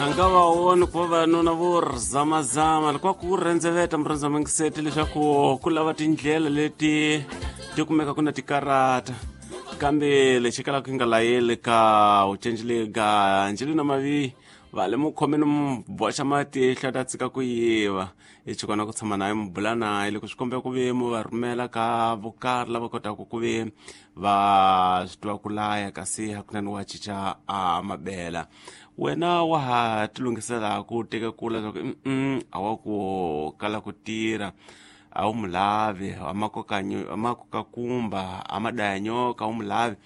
A nga va voni ku vavanuna vo zamazama loko ku rendzeveta murhandzamangiseti leswaku ku lava tindlela leti ti kumeka ku na tikarata kambe lexi kalaka ku nga layeli ka u cencile ka Angelina Mavi va le mu khomeni mu boxa matihlo ta tshika ku yiva i chikona ku tshama naye mu bula naye loko swi kombeka ku ve mu va rhumela ka vokarhi lava kotaka ku ve va swi tiva ku laya kasi hakunene wa cinca a mabela wena wa ha tilunghisela ku teka kula leswaku a wa ku kala ku tirha a wu mu lavi a makokakumba a madaya nyoka a wu mu lavi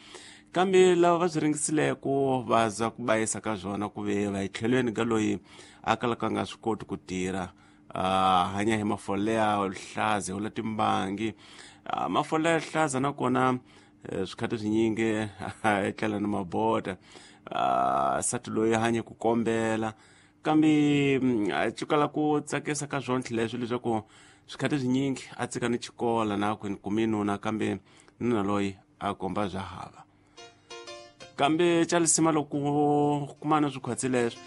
kambe lava va swi ringisileko va za ku bayisa ka swona ku ve va etlhelweni ka loyi a kalaka a nga swi koti ku tirha hanya hi mafole ya hlaza wula timbangi mafole ya hlaza nakona swikhathi swinyingi etlela ni mabota sati loyi hanye ku kombela kambe a cukala ku tsakisa ka swona leswi leswaku swikhathi swinyingi a tsika ni xikola na ku kumi nuna kambe nuna loyi a komba bya hava kambe xa lisima loko kumana swikhwatsi leswi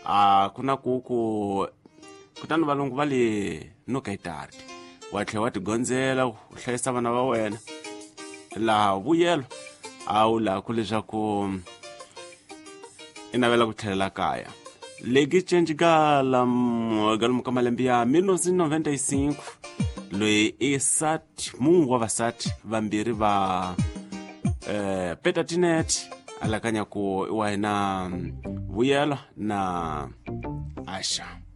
a ku na ku ku kutani valungu va le no ka itardi wa tlhela wa tigondzela u hlayisa vana va wena laha vuyelo a wu laha ku leswaku i navela ku tlhelela kaya leki cenci ka galomu ka malembe ya 1995 loyi i sati mungu wa vasati vambirhi va Peter Tinet alakanya ku i wa hina Vuyelo na Asha.